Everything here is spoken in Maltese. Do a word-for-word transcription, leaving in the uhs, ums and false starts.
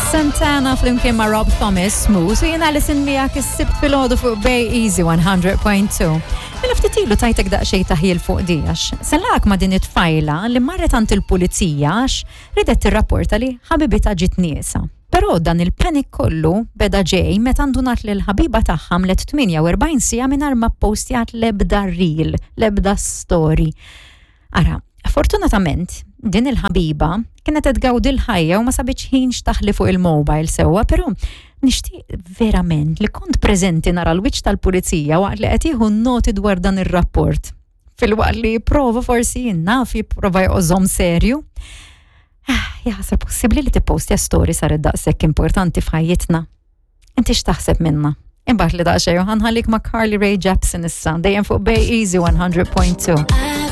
Santana flimkien ma' Rob Thomas, Smooth, u jiena Alison miegħek is-Sibt filgħodu fuq Bay Easy one hundred point two. Mela ftit ilu tajtek daqsxejn taħjil fuq di għax sellak ma' din it-tfajla li marret għand il-pulizija għax ridet tirrapporta li ħabibitha ġiet nieqsa. Però dan il-panic kollu beda ġej meta ndunat li l-ħabiba tagħha għamlet tmienja u erbgħin siegħa mingħajr ma postjat l-ebda reel, l-ebda story. Ara, fortunatament, din il-ħabiba kienet qed tgawdi l-ħajja u ma sabitx ħin x'taħli fuq il-mobile sewwa, però nixtieq verament li kont preżenti nara l-wiċċ tal-pulizija waqt li qed jieħu noti dwar dan ir-rapport. Filwaqt li prova forsi naf jipprova jżomm serju. Ah, jaħasra, possibbli li tippostja story saret daqshekk importanti f'ħajjitna? Inti x'taħseb minna? Imbagħad li daqsxejn ħa nħallik ma' Carly Rae Jepsen issa, dejjem fuq Bay Easy one hundred point two.